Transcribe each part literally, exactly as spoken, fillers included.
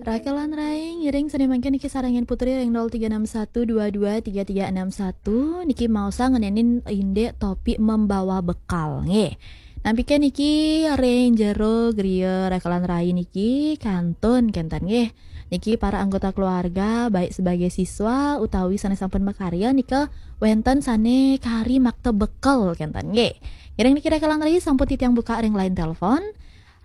Rakelan rai, ngiring seni mangkin niki sarengin Putri ring nol tiga enam satu dua dua tiga tiga enam satu. Niki maosang ngenenin indik topik membawa bekal, nggih. Nampike niki ring jero griya Rakelan rai niki kantun kenten, nggih. Niki para anggota keluarga, baik sebagai siswa utawi sane sampun makarya nika wenten sane kari makta bekal kenten, nggih. Ngiring niki Rakelan rai sampun titiang buka ring line telepon.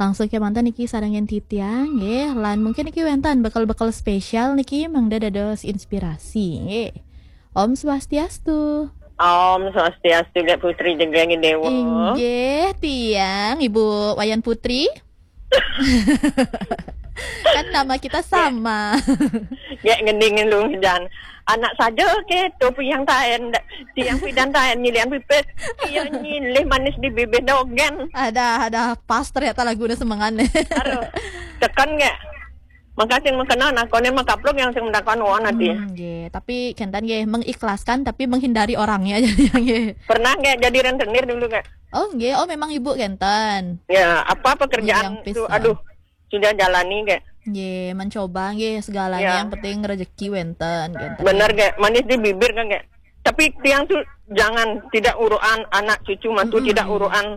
Langsung kemanten niki sarengin titiang, nggih. Lan mungkin niki wenten bekel-bekel spesial niki mangda dados inspirasi, nggih. Om Swastiastu. Om Swastiastu, Gek Putri Jegeng Dewa. Inggih, tiang Ibu Wayan Putri. Kan nama kita sama. Gek ngening lu jan. Anak saja ke tu piang taen, tiang pidan taen nyilian pipis. Iya nyilih manis di bibir dogen. Ada, ada pas ternyata lagunya semengan. Aduh, tekan gek. Makasih mengenal nakone makapluk yang sing mendakan wong ati. Hmm, nggih. Tapi kenten nggih mengikhlaskan tapi menghindari orangnya jadi nggih. Pernah gek jadi rentenir dulu gek? Oh, nggih. Oh, memang Ibu kenten. Ya, apa pekerjaan Yang tu, pisah. Aduh, sudah jalani gek. Nggih, mencoba nggih segalanya Ya. Yang penting rezeki wenten kenten. Bener gek, manis di bibir kan gek. Tapi tiang tu jangan tidak uruan anak cucu mantu Mm-mm. Tidak uruan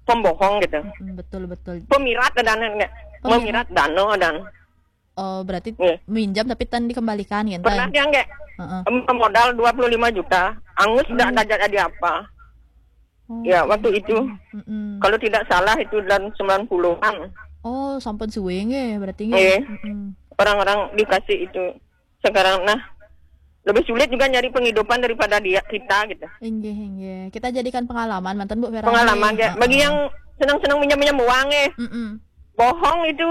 pembohong gitu. Mm, betul, betul. Pemirat ada gek. Oh, Memirat dano dan. Oh, berarti Iya. Minjam tapi tan dikembalikan kenten. Pernah tiang gek. Heeh. Em, modal dua puluh lima juta, angus Oh. Dak ada jadi apa. Oh, Ya, oke. Waktu itu, Mm-mm. Kalau tidak salah itu dalam sembilan puluhan. Oh, sampun suwe nggih, berarti nggih. Nggih. Mm-mm. Orang-orang dikasih itu. Sekarang, nah, lebih sulit juga nyari penghidupan daripada dia, kita gitu. Inggih, inggih. Kita jadikan pengalaman, manten Bu Vera. Pengalaman, nggih. Ya. Bagi Heeh. Yang senang-senang minjam-minjam uang, eh. Mm-mm. Bohong itu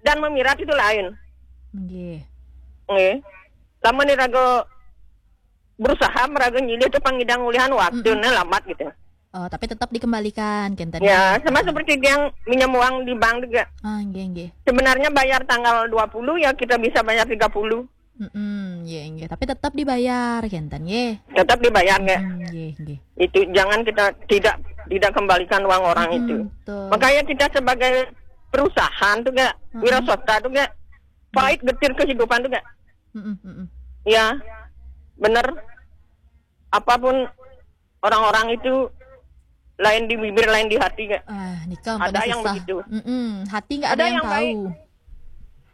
dan memirat itu lain. Nggih. Nggih. Lamun iraga berusaha meraga nyilih tu pangidang ulihan waktu Mm-mm. Nah lambat gitu. Oh, tapi tetap dikembalikan kenten. Ya, sama seperti dia yang minjam uang di bank juga. Ah, nggih, nggih. Sebenarnya bayar tanggal dua puluh ya kita bisa bayar tiga puluh. Mm-mm, nggih, nggih. Tapi tetap dibayar kenten, nggih. Tetap dibayar nggih. Mm, nggih, nggih. Itu jangan kita tidak tidak kembalikan uang orang Mm-mm, itu. Betul. Makanya kita sebagai perusahaan tuh gak, Mm-mm. Wiraswasta tuh gak, pahit getir kehidupan tuh gak. Mm-mm, mm-mm. Ya, bener. Apapun orang-orang itu lain di bibir, lain di hati, Kak. Ah, nika ampun. Ada yang susah. Begitu. Mm-mm. Hati nggak ada. Ada yang yang tahu. Baik.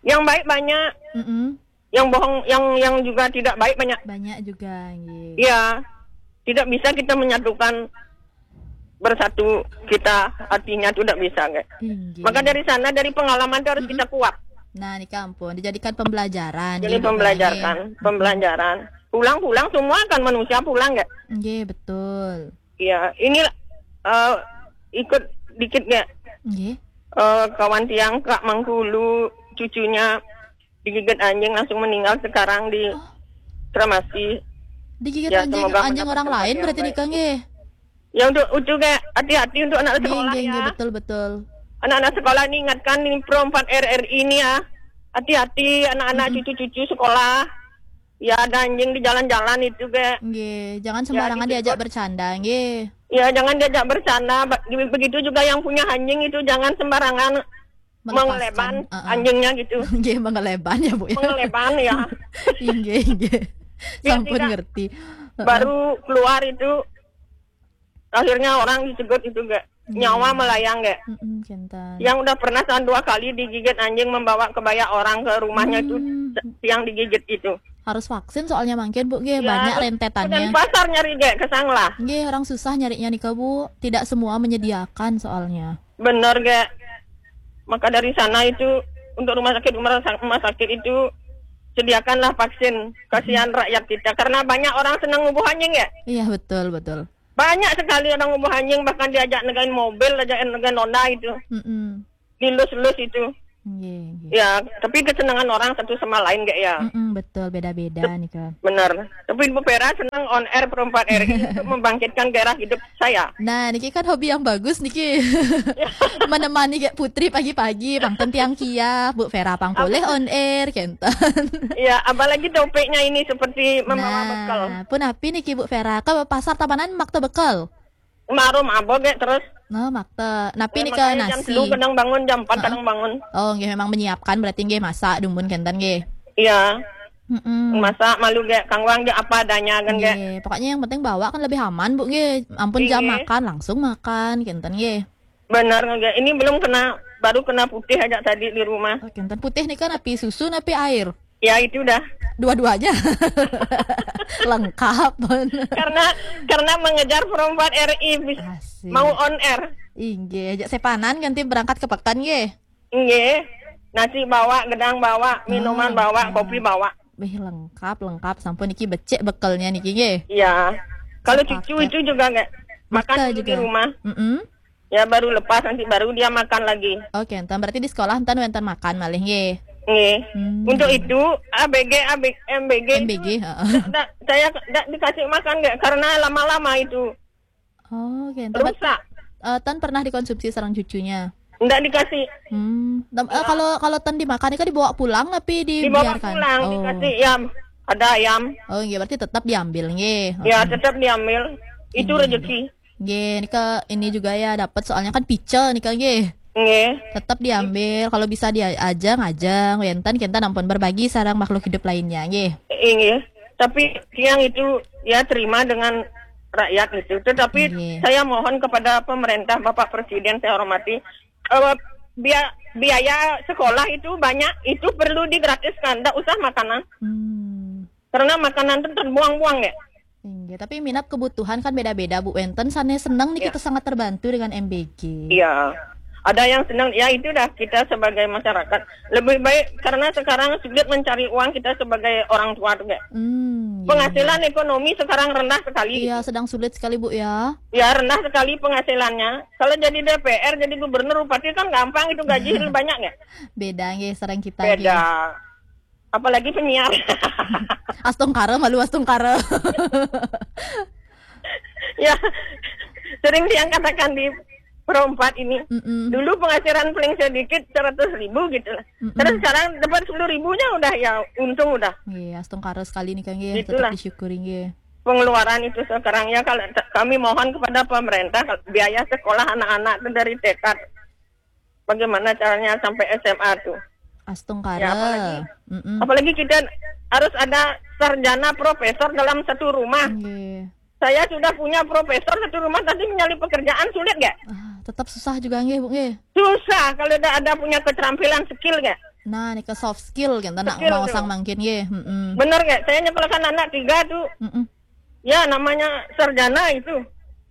Yang baik banyak. Mm-mm. Yang bohong, yang yang juga tidak baik banyak. Banyak juga, nggih. Iya. Tidak bisa kita menyatukan bersatu kita artinya itu tidak bisa, Kak. Inggih. Maka dari sana, dari pengalaman itu harus Mm-mm. Kita kuat. Nah, nika ampun dijadikan pembelajaran. Jadi gitu, pembelajaran, kan, ya. Pembelajaran. Pulang-pulang semua kan manusia pulang, Kak. Nggih, betul. Ya, ini eh, ikut dikit nggak? Nggih. Eh, kawan tiang Kak Mangkulu, cucunya digigit anjing langsung meninggal sekarang di Oh. Tramasi. Digigit Ya, anjing, semoga anjing orang mendapatkan lain berarti yang nikah baik. Nggih. Ya, untuk, untuk kayak hati-hati untuk anak Nggih, sekolah nggih, ya. Nggih, betul, betul. Anak-anak sekolah ini ingatkan ini Pro empat R R I ini ya. Hati-hati anak-anak Mm-mm. Cucu-cucu sekolah. Ya, ada anjing di jalan-jalan itu, Kak. Nggih, jangan Ya, sembarangan di diajak situ. Bercanda, nggih. Ya, jangan diajak bercanda. Ba-, begitu juga yang punya anjing itu jangan sembarangan Melepaskan, mengeleban heeh. Anjingnya gitu. Nggih, mengeleban ya, Bu, ya. Mengeleban, ya. Inggih, inggih. Biar Sampun tidak ngerti. Heeh. Baru keluar itu, akhirnya orang dicegat itu, Kak. Nggih. Nyawa melayang, Kak. Mm-mm, kenten. Yang udah pernah satu dua kali digigit anjing membawa kebaya orang ke rumahnya itu, Hmm. Yang digigit itu. Harus vaksin soalnya mangkin, Bu, nggih, ya, banyak rentetannya. Dan pasar nyari, Kak, kesang lah. Nggih, orang susah nyarinya nika, Bu. Tidak semua menyediakan soalnya. Bener, Kak. Maka dari sana itu, untuk rumah sakit, rumah sa-, rumah sakit itu, sediakanlah vaksin. Kasihan Mm-mm. Rakyat kita. Karena banyak orang senang ngubuh anjing, ya. Iya, betul, betul. Banyak sekali orang ngubuh anjing, bahkan diajak negain mobil, diajak negain Honda itu. Mm-mm. Dilus-lus itu. Nggih, nggih. Ya, tapi kesenangan orang satu sama lain, Kak, ya. Mm-mm, betul, beda-beda nih, Kak. Benar. Tapi Bu Vera senang on air Pro empat R I untuk membangkitkan gairah hidup saya. Nah, niki kan hobi yang bagus niki. Menemani Gek Putri pagi-pagi, pang tentiang kia, Bu Vera pang polih on air, kenten. Iya, apalagi topiknya ini seperti membawa bekal. Nah, pun api niki Bu Vera, ke pasar Tabanan makta bekal. Marum apa, Gek, terus? Nah, makta. Napi Ya, nih ke makanya jam nasi? Telu kadang bangun, jam empat Heeh. kadang bangun. Oh, nggih, memang menyiapkan berarti nggih, masak dumun kenten nggih. Iya. Mm-mm. Masak malu gak, kangwang gak apa adanya kan gak. Nggih, pokoknya yang penting bawa kan lebih aman, Bu, nggih. Ampun jam Nggih. Makan, langsung makan kenten nggih. Benar gak. Ini belum kena, baru kena putih aja tadi di rumah. Oh, kenten putih nih kan api susu, api air. Ya itu dah. Dua-duanya. Lengkap. Karena karena mengejar perempuan R I bis- Asik. Mau on air. Inggih, ajak sepanan ganti berangkat ke pekan nggih. Nggih. Nasi bawa, gedang bawa, minuman Ah, bawa, ah. Kopi bawa. Wih, lengkap, lengkap. Sampun niki becik bekelnya niki nggih. Iya. Kalau Sepakat. Cucu itu juga nggak makan Betul dulu juga. Di rumah. Mm-mm. Ya baru lepas nanti baru dia makan lagi. Oke, enten berarti di sekolah enten wenten makan malih nggih. Nggih. Hmm. Untuk itu A B G, A B, M B G M B G, itu heeh. ndak, saya ndak dikasih makan nggak karena lama-lama itu Oh, oke, enten berarti rusak. Eh, ten pernah dikonsumsi sareng cucunya. Ndak dikasih. Hmm, tem- eh, kalau kalau ten dimakan itu dibawa pulang tapi Dibawa dibiarkan. Pulang, Oh. Dikasih ayam. Ada ayam. Oh, iya berarti tetap diambil nggih. Ya, Heeh. Tetap diambil. Itu Iya. Rezeki. Nggih, nika ini juga ya dapat soalnya kan pice nika nggih. Nggih. Tetap diambil kalau bisa diajeng-ajeng wenten kita ampun berbagi sareng makhluk hidup lainnya nggih. Inggih. Tapi tiang itu ya terima dengan rakyat itu. Tetapi Nggih. Saya mohon kepada pemerintah, Bapak Presiden saya hormati, eh, bia- biaya sekolah itu banyak, itu perlu digratiskan, ndak usah makanan. Hmm. Karena makanan itu terbuang-buang ya. Inggih, tapi minat kebutuhan kan beda-beda Bu. Wenten sane seneng nih Ya. Kita sangat terbantu dengan M B G. Iya. Ada yang senang, ya itu dah kita sebagai masyarakat lebih baik karena sekarang sulit mencari uang kita sebagai orang tua tuh, Kak. Hmm, iya. Penghasilan ekonomi sekarang rendah sekali. Iya, sedang sulit sekali Bu ya. Ya rendah sekali penghasilannya. Kalau jadi D P R, jadi gubernur, bupati kan gampang itu gaji banyak ya. Beda nggih sareng kita Beda. Nggih. Apalagi penyiar. Astungkara malu astungkara. Ya sering dia katakan di Pro empat ini. Mm-mm. Dulu penghasilan paling sedikit seratus ribu gitu lah. Mm-mm. Terus sekarang dapat sepuluh ribunya udah ya untung udah. Nggih, astungkara sekali nih Kang nggih, Itulah. Tetap disyukuri nggih. Pengeluaran itu sekarang ya kalau te- kami mohon kepada pemerintah kalau biaya sekolah anak-anak tuh dari T K bagaimana caranya sampai S M A tuh. Astungkara. Ya, apalagi- Mm-mm. Apalagi kita harus ada sarjana profesor dalam satu rumah. Nggih. Saya sudah punya profesor satu rumah tapi mencari pekerjaan sulit gak? Ah, tetap susah juga nggih Bu nggih. Susah kalau tidak ada punya keterampilan skill gak? Nah, nih ke soft skill gitu nak Skill mau tuh. Sang mangkin nggih. Mm-mm. Bener gak? Saya nyekolahkan anak tiga tuh. Mm-mm. Ya namanya sarjana itu.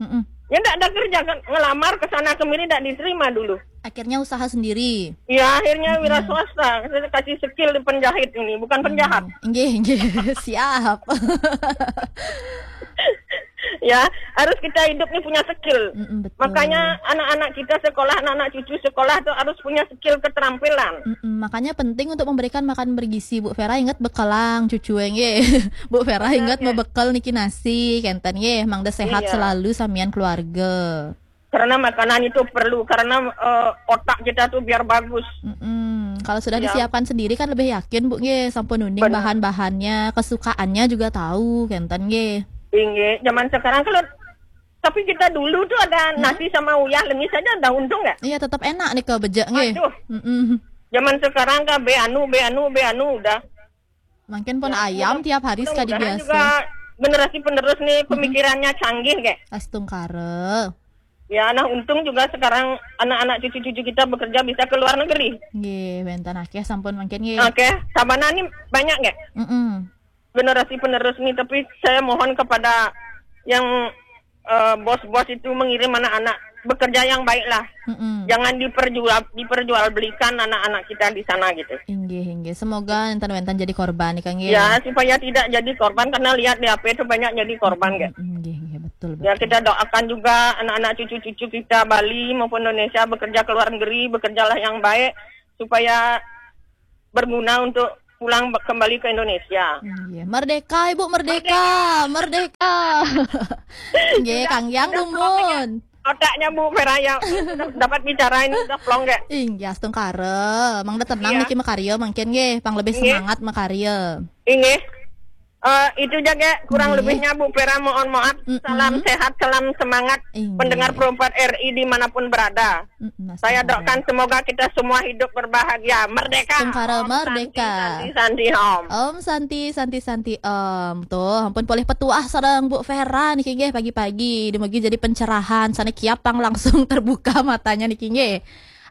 Mm-mm. Ya tidak ada kerja kan ngelamar ke sana kemari tidak diterima dulu. Akhirnya usaha sendiri. Ya akhirnya wira swasta saya kasih skill di penjahit ini bukan penjahat. Nggih, nggih. Siap. Ya harus kita hidup nih punya skill. Mm-mm, betul. Makanya anak-anak kita sekolah, anak-anak cucu sekolah tuh harus punya skill keterampilan. Mm-mm, makanya penting untuk memberikan makan bergizi. Bu Vera ingat bekelang cucu nggih. Bu Vera ingat Iya. Bebekel niki nasi kenten nggih. Mangda sehat Iya. Selalu samian keluarga. Karena makanan itu perlu karena eh, otak kita tuh biar bagus. Mm-mm. Kalau sudah Ya. Disiapkan sendiri kan lebih yakin Bu nggih sampun uning Benar. Bahan-bahannya, kesukaannya juga tahu kenten nggih. Tinggi. Zaman sekarang kalau tapi kita dulu tuh ada nasi sama uyah lengis aja udah untung nggak? Iya tetap enak nih ke bejek nggih. Aduh. Mm-mm. Zaman sekarang kan be anu, be anu, be anu udah. Mungkin pun Ya, ayam mudah- tiap hari sekali mudah-mudahan biasa. Juga generasi penerus nih pemikirannya canggih gak? Astungkara. Ya, nah untung juga sekarang anak-anak cucu-cucu kita bekerja bisa ke luar negeri. Nggih, wenten akeh sampun mungkin nggih. Oke, sabana nih banyak gak? Mm-mm. Generasi penerus nih, tapi saya mohon kepada yang eh, bos-bos itu mengirim anak-anak bekerja yang baiklah. Mm-mm. Jangan diperjual diperjualbelikan anak-anak kita di sana gitu. Inggih, inggih. Semoga enten wenten jadi korban nih Kang nggih. Ya, supaya tidak jadi korban karena lihat di H P itu banyak jadi korban kan. Inggih, inggih, betul, betul. Ya, kita doakan juga anak-anak cucu-cucu kita Bali maupun Indonesia bekerja ke luar negeri, bekerjalah yang baik supaya berguna untuk pulang be- kembali ke Indonesia. Inggih. Merdeka Ibu, merdeka, merdeka. Nggih, Kang Yang dumun. Otaknya Bu Vera ya dapat bicara ini udah plong gak? Inggih, astungkara. Mangda tenang Iya. niki makarya mungkin nggih, pang lebih Nggih. Semangat makarya. Inggih. Eh, itu saja, kurang Nggih. Lebihnya Bu Vera mohon maaf. Mm-mm. Salam sehat, salam semangat Inggih. Pendengar Pro empat R I dimanapun berada. Mm-mm, Mas Saya Saudara. Doakan semoga kita semua hidup berbahagia. Merdeka. Tungkara Om merdeka. Santi, Santi, Santi, Om. Om Santi, Santi, Santi, Om. Tuh, ampun, polih petuah sareng Bu Vera niki nggih pagi-pagi. Dumugi jadi pencerahan. Sana kiapang langsung terbuka matanya niki nggih.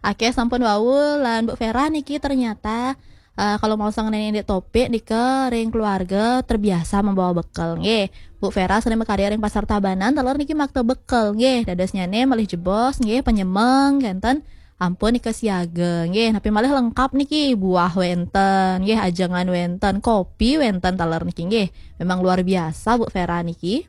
Oke, sampun wau lan Bu Vera niki ternyata eh, kalau mau sang nenek topik nika ring keluarga terbiasa membawa bekal nggih. Bu Vera sering makarya ring Pasar Tabanan, taler niki makta bekal nggih. Dadosnyane malih jebos nggih, penyemeng kenten. Ampun nika siaga nggih, napi malih lengkap niki, buah wenten nggih, ajengan wenten, kopi wenten taler niki nggih. Memang luar biasa Bu Vera niki.